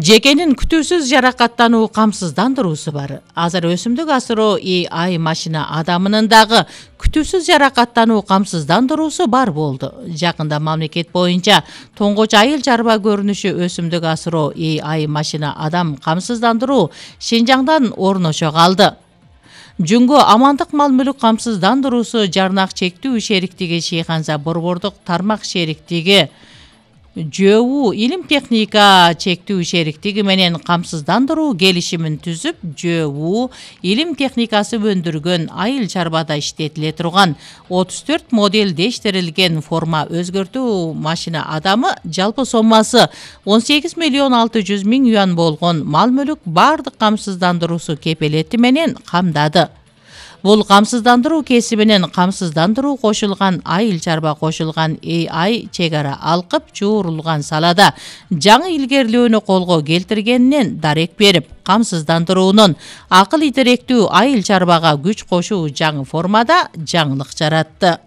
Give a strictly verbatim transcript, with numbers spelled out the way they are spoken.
Жекенин күтүүсүз жаракаттануу камсыздандыруусу бар. Азыр өсүмдүк асыроо A I машина адамынын дагы күтүүсүз жаракаттануу камсыздандыруусу бар болду. Жакында мамлекет боюнча тоңгоч айыл чарба көрүнүшү өсүмдүк асыроо A I машина адам камсыздандыруу Шинжаңдан орношо калды. Жүнгө амандык мал мүлүк камсыздандыруусу жарнак чектүү шериктиги Шейханза борбордук тармак шериктиги ЖЭУ илим техника чектүү шериктиги менен камсыздандыруу келишимин түзүп, ЖЭУ илим техникасы өндүргөн айыл чарбада иштетиле турган отуз төрт модельдештирилген форма өзгөртүү машина адамы жалпы соммасы он сегиз миллион алты жүз миң юан болгон мал мүлүк бардык камсыздандыруусу кепелети менен камдады. Бул камсыздандыруу кесибинен камсыздандыруу кошулган айыл чарба кошулган A I чек ара алкып чуурулган салада жаңы илгерилөөнү колго келтиргенинен дарек берип, камсыздандыруунун акыл идеректүү айыл чарбага күч кошуу жаңы формада жаңылык жаратты.